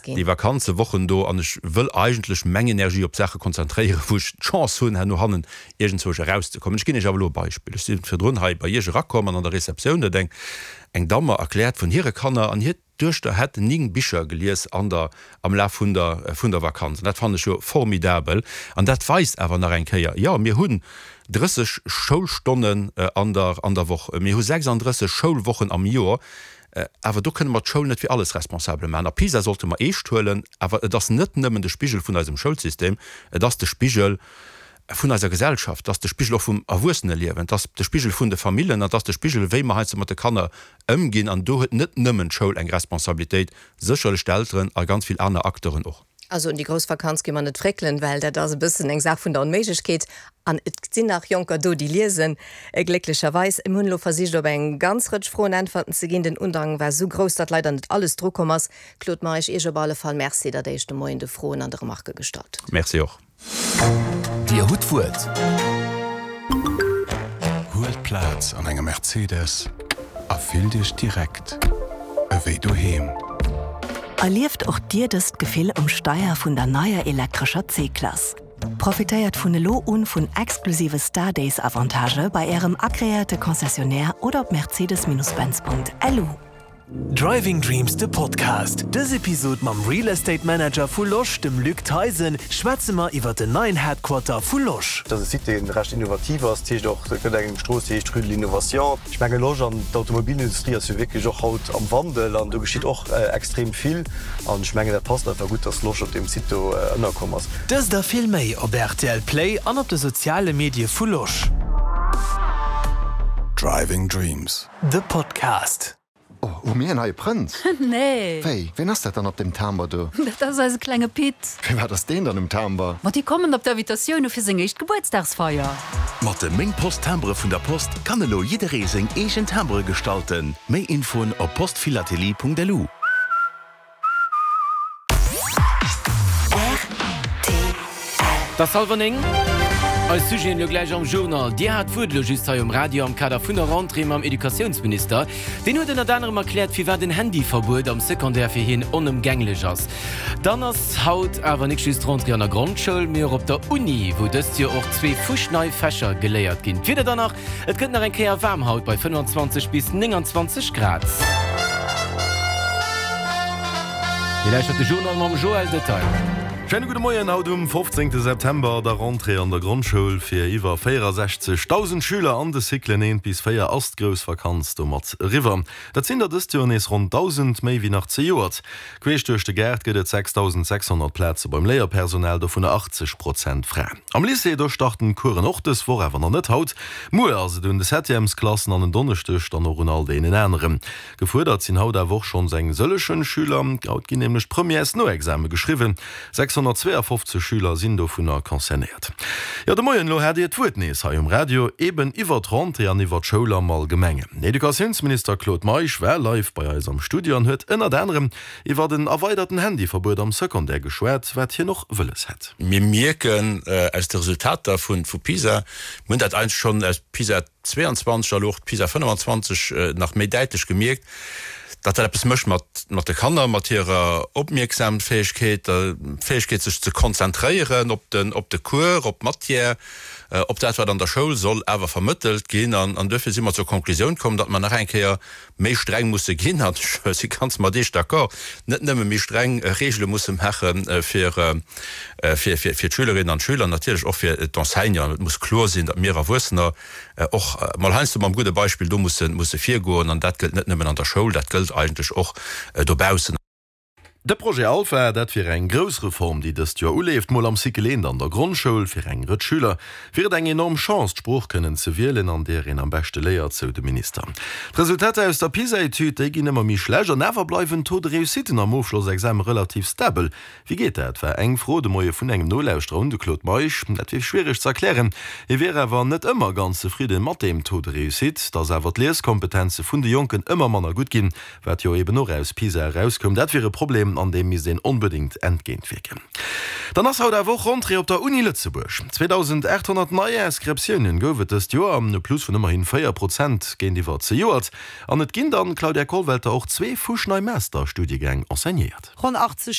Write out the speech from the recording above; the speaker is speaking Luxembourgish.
ginn. Déi Vakanzewochen do an ech wëll eigentlech meng Energie op Saache konzentréieren, wou ech d'Chance hunn, herno hannen iergendzwousch erauszekommen. Ech ginn Iech awer elo e Beispill. Ech si virdrun hei bei Iech erakomm an an der Receptioun huet eng eng Damm mer erkläert vun hire Kanner an hir Duechter hätt 9 Bicher gelies an der am Laf vun der vun der Vakanz. An dat fannen ech jo formidabel. An dat weist awer nach eng Kéier, jo, mir hunn 30 Schoulstonnen an der an der Woch, mir hu 36 Schoulwochen am Joer, awer do kënne mer d'Schoul net fir alles responsabel maachen. A PISA sollte mer eescht huelen, awer et ass net nëmmen de Spigel vun eisem Schoulsystem, et ass de Spigel vun eiser Gesellschaft, et ass de Spigel och vum Erwuesseneliewen, et ass de Spigel vun de Famillen an et ass de Spigel, wéi mer heiansdo mat de Kanner ëmginn. An do huet net nëmmen d'Schoul eng Responsabilitéit, sécherlech d'Elteren a ganz vill aner Acteuren och. Also un déi grouss Vakanz gi mer net fréckelen, well dat ass e bëssen eng Saach vun der Onméiglechkeet. An et sinn nach Jonker do, déi liesen, glécklecherweis. Mir hunn elo versicht, op eng ganz Rëtsch Froen Äntwerten ze ginn. Den Undrang war esou grouss, datt leider net alles drukomm ass. Claude Meisch, Iech op alle Fall Merci, datt Der Iech de Moien de Froen an de Remarquë gestallt hutt. Merci och. Dir hutt d'Wuert. Huelt Plaz an engem Mercedes a fillt Iech direkt ewéi doheem. Erlieft och Dir dëst Gefill um Steier vun der neier elektrescher C-Klass. Profitéiert vun elo un vun exklusive Star Days Avantagë bei Ärem agreéierte Concessionnaire oder op mercedes-benz.lu. Driving Dreams de Podcast. Dës Episod mam Real Estate Manager vu Losch, dem Luc Theisen, schwätze mer iwwer den neien Headquarter vu Losch. Dat ass e Site, dee recht innovativ ass. Dat heescht och, et gëtt eng Strooss, déi heescht Rue de l'Innovation. Ech menge Losch an d'Automobilindustrie ass jo wierklech och haut am Wandel an do geschitt och extrem vill. An ech mengen, dat passt einfach gutt, dass Losch op deem Site do ënnerkomm ass. Dëst a vill méi op rtl Play an op de soziale Medie vu Losch. Driving Dreams. The Podcast. Oh, hu mir en neie Prënz? Nee. Wéi, ween ass dat dann op dem Timber do? Dat ass eise klenge Pit. Firwat ass deen dann um Timber? Ma déi kommen op d'Invitatioune fir seng éischt Gebuertsdagsfeier. Mat de Meng Post Timbere vun der Post kann elo jidderee seng eegen Timbere gestalten. Méi Infoen op postphilatelie.lu. Et ass hallwer 9. Eis Sujeten elo gläich am Journal. Dir hat d'Wuert elo just hei um Radio am Kader vun der Rentrée mam Educatiounsminister. Deen huet ënnert anerem erkläert, firwat en Handyverbuet am Secondaire fir hien onëmgänglech ass. Dann ass haut awer nik just Rentrée an der Grondschoul, mee och op der Uni, wou dëst Joer och zwee fuschnei Fächer geléiert ginn. D'Wieder dann nach, Et gëtt nach eng Kéier waarm haut bei 25 bis 29 Grad. Dir lauschtert de Journal mam Joël Detail. Schéine gudde Moien. Haut um 15 September, der Rentrée an der Grondschoul fir iwwer 64.000 Schüler an de Cyclen 1 bis 4 ass d'grouss Vakanz domat eriwwer. Dat sinn der dëst Joer nees ronn 1.000 méi wéi nach zejoert. Queesch duerch de Gaart gëtt et 6.600 Plaze beim Léierpersonal, dovunner 80 Prozent Fraen. Am Lycée, do starten d'Coursen och dës Woch, awer nach net haut. Muer ass et un de Septièmesklassen an en Donneschdeg dann och un all deenen aneren. Gefuerdert sinn haut awer och schonns eng sëllechen Schüler. Haut ginn nämlech d'Premièresnoexame geschriwwen. 652 Schüler sinn dovunner concernéiert. Jo, de Moien elo hat Dir d'Wuert nees hei um Radio, eben iwwert d'Rentrée an iwwert d'Schoul am Allgemengen. Den Educatiounsminister Claude Meisch war live bei eis am Studio an huet ënnert anerem iwwert en erweiderten Handyverbuet am Secondaire geschwat, wat hien och wëlles hätt. Mir mierken aus de Resultater vu PISA, mir hunn dat eigentlech schonn aus PISA 22 a lo och d'PISA 25 nach méi däitlech gemierkt, datt dat eppes mécht mat mat de Kanner, mat hirer Opmierksamfäegkeet, der Fäegkeet sech ze konzentréieren op den op de Cours, op d'Matière, op dat wat an der Schoul soll awer vermëttelt ginn. An an duerfir si mer zur Konklusioun komm, datt mer nach eng Kéier méi streng musse ginn, an ech si ganz mat Iech d'accord, net nëmme méi streng Regele musse maache fir fir fir d'Schülerinnen an d'Schüler, natierlech och fir d'Enseignanten. Et muss kloer sinn, datt mir Erwuessener och mol heiansdo mam gudde Beispill do musse musse virgoen. An dat gëllt net nëmmen an der Schoul, dat gëllt eigentlech och dobaussen. De Projet Alpha, dat wier eng grouss Reform, déi dëst Joer uleeft. Mol am Cycle 1 an der Grondschoul. Fir eng Rëtsch Schüler wier et eng enorm Chance, d'Sprooch kënnen ze wielen, an där een am beschte léiert, sou de Minister. D'Resultater aus der PISA-Etüd, déi ginn ëmmer méi schlecht an awer bleiwen d'Taux de réussiten am Ofschlossexame relativ stabel. Wéi geet dat? war eng Fro de Moie vun engem Nolauschterer un de Claude Meisch. Dat wier schwiereg ze erklären. Hie wier awer net ëmmer ganz zefridde mat deem Taux de réussite. Datt awer d'Lieskompetenze vun de Jonken ëmmer manner gutt ginn, wat jo eben och aus PISA erauskoum, dat wier e Problem, an deem misst een onbedéngt entgéintwierken. Dann ass haut awer och Rentrée op der Uni Lëtzebuerg. 2.800 nei Inscriptiounen gouf et dëst Joer, e Plus vun ëmmerhin 4 Prozent géintiwwer zejoert. An et ginn dann, Claudia Kollwelter, och zwee fuschnei Master-Studiegäng enseignéiert. Ronn 80.